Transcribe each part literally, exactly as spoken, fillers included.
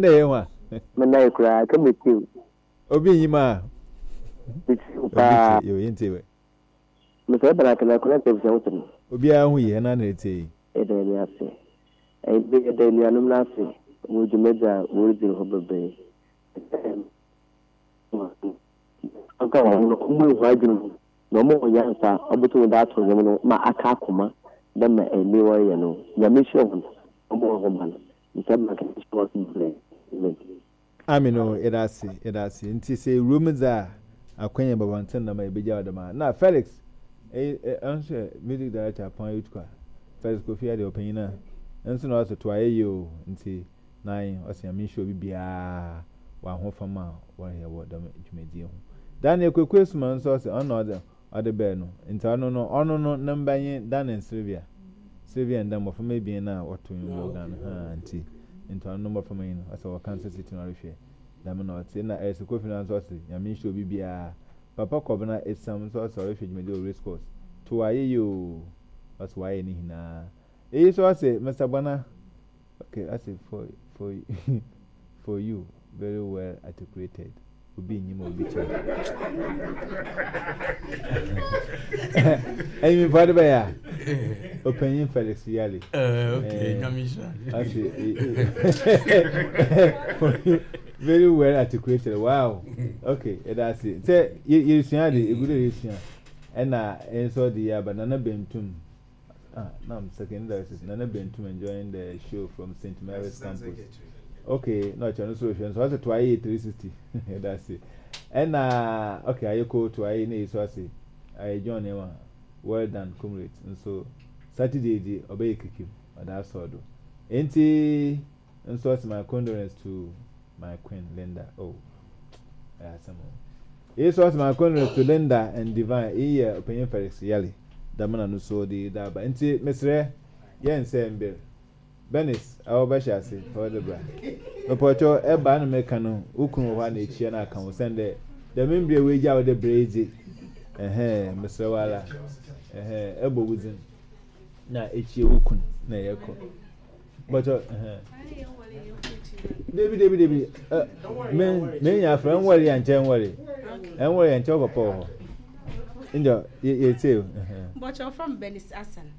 Na ɛyɛ ho a. Menna koraa ka metie. Obi nyim a. Metie obi paa. Tie yo, yɛntie wɛ. Mesɛ ɛbɛn akana akɔnɛ sɛ ebusua ho sɛm. Obiara ho yie ɛna na ɛtie yi. Yɛda Nyame ase. Ɛyɛ yɛda anuanom no ase wɔ dwumadzi a wɔredzi no hɔ bebree. Ɔka wɔn ho no, ɔmo ehu adwene mu na ɔmo wɔ nyansa a ɔbɛtum de ato nnwom no ma aka akoma dɛ ma ɛni wɔreyɛ no. Nyame hyira wɔn, ɔmo wɔ ho ban. Mesɛ ɛbɛn akana hyira wɔn so bebree. Amen. Amen o, yɛda ase, yɛda ase. Nti sɛ ewuram dze a akwanya babɔnten nam a yɛbɛgya wo dɛm a na Felix ɛyi ɛ ɔno yɛ music director Apɔn Youth Choir. Felix Kofi adeɛ ɔpanyin a nso na ɔsɛ to ayɛ yie o, nti nan ɔsɛ Nyame nhyira obi biara wɔ ahofam a wɔreyɛ wɔ dɛm dwumadie ho. Daniel Kwaku Esuma nso ɔsɛ ɔno na ɔde ɔde bɛɛ no, nti ɔno no ɔno no ne mba nye Dan and Sylvia, Sylvia and Dan, mmɔframma ebien a wɔto nnwom wɔ Ghana ha, nti nti ɔno no mmɔframma yi no ɔsɛ wɔ Kansas City na ɔrehwɛ dɛm na ɔte. Na ɛsɛ Kofi no nso ɔsɛ Nyame nhyira obi biara. Papa Kɔbena Esam nso ɔsɛ ɔrehwɛ dwumadie wɔ race course, to ayɛ yie o, ɔsɛ wayɛ ne nyinaa. Eyi nso ɔsɛ Mister Bona, okay, ɔsɛ for for for you, very well articulated. Obi nyim obi kyerɛ ɛyi mi de bɛyɛ a ɔpanyin Felix Yali. Okay, Nyame nhyira. Ɔsɛ very well articulated. Wow, okay, ɛda ase sɛ yɛsua de egu de yɛsua ɛna nso de yɛ aba. Nana Bentum, ah, now I'm second diocese. Nana Bentum enjoying the show from Saint Mary's campus. Okay, na ɔkyerɛ no so hwɛ nso ɔsɛ to ayɛ three sixty, ɛda ase. Ɛna okay, ayɛ to ayɛ na yi so ase ayɛ John Ema, well done comrades. Nso Saturday di ɔbɛyɛ kikim ɔda asɔ do, nti nso ɔsɛ my condolence to my queen Linda. Oh, ɛyɛ asɛm o. Eyi so ɔsɛ my condolence to Linda and Divine. Eyi yɛ ɔpanyin Felix Yali damina no so de da aba, nti mesrɛ yɛn sɛ mbere Benis a wɔbɛhyɛ ase fa wɔde bra mepɔtɔ ɛba na meka no wo kunu wɔ hɔ a na ekyia na aka ho sɛn dɛ dɛm mbere wo egya wɔde brɛ yi dze ɛhɛn, mesrɛ wo ara, ɛhɛn, ɛbɔ wo dzin na ekyia wo kunu na yɛkɔ bɔtɔ ɛhɛn. Debi debi debi, ɛ me me nya afra nwɔre yɛ nkyɛn, nwɔre ɛnwɔre yɛ nkyɛn, papa wɔ hɔ njɔ yɛ yɛ tie o, ɛhɛn. Mbɔkyɛ from Benis Asan.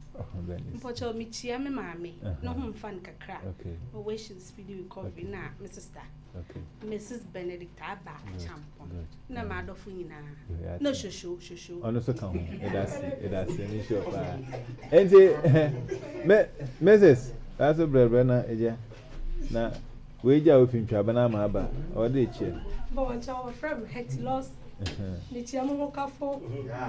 Mpɔkyɛ mekyia me maame ne ho mfa no kakra. Okay. Wish speedy recovery na me sister Okay. Missus Benedict Aba Champon Good. na m'adɔfo nyinaa Yeah, na shosho shosho. Ɔno nso ka ho. Ɛda ase, ɛda ase, ɛmi sure paa. Nti me Missus Aso brɛbrɛ na egya na wei gya ofi ntwaba na ama aba ɔde ekyia. Bɔnkyɛ wɔfrɛ me Hetty Lawson. Mekyia mo ho kafo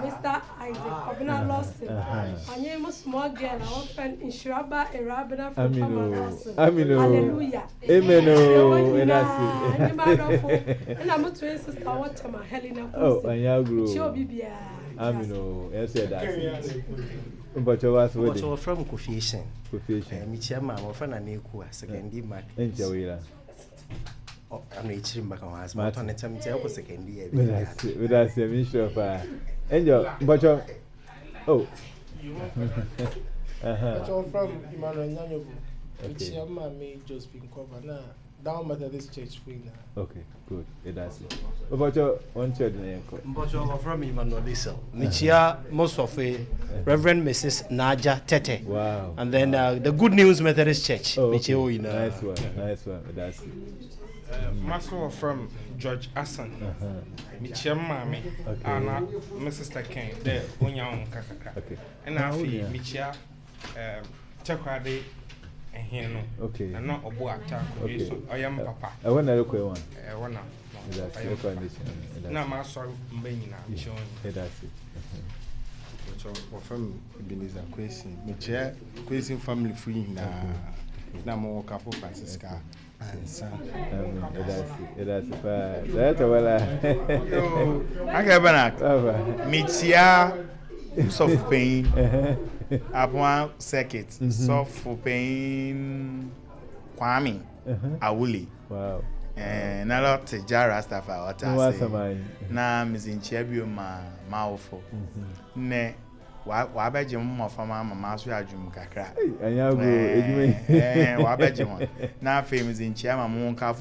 Mister Isaac Kɔbena Lawson. Ɔnye mo small girl a wɔfrɛ no Nhyiraba Ewurabena Amen Fofama o. Lawson. Amen o. Hallelujah. Amen o. Kyerɛ wɔn Ɛda nyinaa ase. nye m'adɔfo ɛna mo twin sister wɔtɛm a Helena Oh, Kumsi. ɔnyɛ agorɔ Mekyia o. obi biara. Amen o. Yɛn nso yɛda ase. Mpɔkyɛ wa so Mpɔkyɛ wode. wɔfrɛ me Kofi Asian. Kofi Asian. Eh, mekyia maa wɔfrɛ na Neku a Sekondi mark. Ɛnkyɛ wo yera. Ano ekyiri mbaka ho asɛm. Mate. Ɔtɔ ne kyɛm nkyɛn ɛkɔ Sekondi yɛ Meda ase, meda ase, mi sure paa. Angel, mpɔkyɛ. Oh. Uh-huh. Ɔkyɛ from Emmanuel Nyanyobo. Okay. Mekyia maame Josephine Kɔba na Down Methodist Church fo nyinaa. Okay, good. Ɛda ase. Mpɔkyɛ wɔn kyerɛ de na yɛn kɔ. Mpɔkyɛ wɔfrɛ me Emmanuel Diesel. Mekyia Mosɔfo Reverend Missus Naja Tete. Wow. And then uh, the Good News Methodist Church. Oh, okay. Mekyia wo nyinaa. Nice one, nice one. Ɛda ase. Maso wɔ from George Asan. Mekyia m maame Okay. a na me sister Ken dɛ onya wo nka kakra. Okay. Ɛna Na wo afei nua? mekyia um, Kyɛkwade ɛhen no. Okay. Na na ɔbo ata akonnwa Okay. so ɔyɛ m papa. Ɛhɔ na ɛrekɔ ɛwɔ. Ɛwɔ na Ɛda ase. ɔyɛ m Ɛkɔ papa. ne hyɛn. Na maasɔre mba nyinaa mekyia wɔn nyinaa. Ɛda ase. Mpɔkyɛ wɔfrɛ me Ebenezer Kwesi. Mekyerɛ Kwesi family fo nyinaa na mowɔ kafo Francisca ansa. Amen. Ɛda ase. Ɛda ase paa. Director wala. Yo, Uncle Bernard. Baba. Mekyia sɔfo panyin Apoa Circuit, sɔfo panyin Kwame Awule. Wow. Eh, na lɔte gya Rastafari ɔte Ne ase. wasɛm ayi. Na medze nkyia bio ma m'awofo ne Wabɛgye mo mmɔframma ama maso adwum kakra. Ɛnyɛ agorɔ, edwuma yi. Ɛɛ, wabɛgye ho. Na afei medze nkyia ma mo nkafo.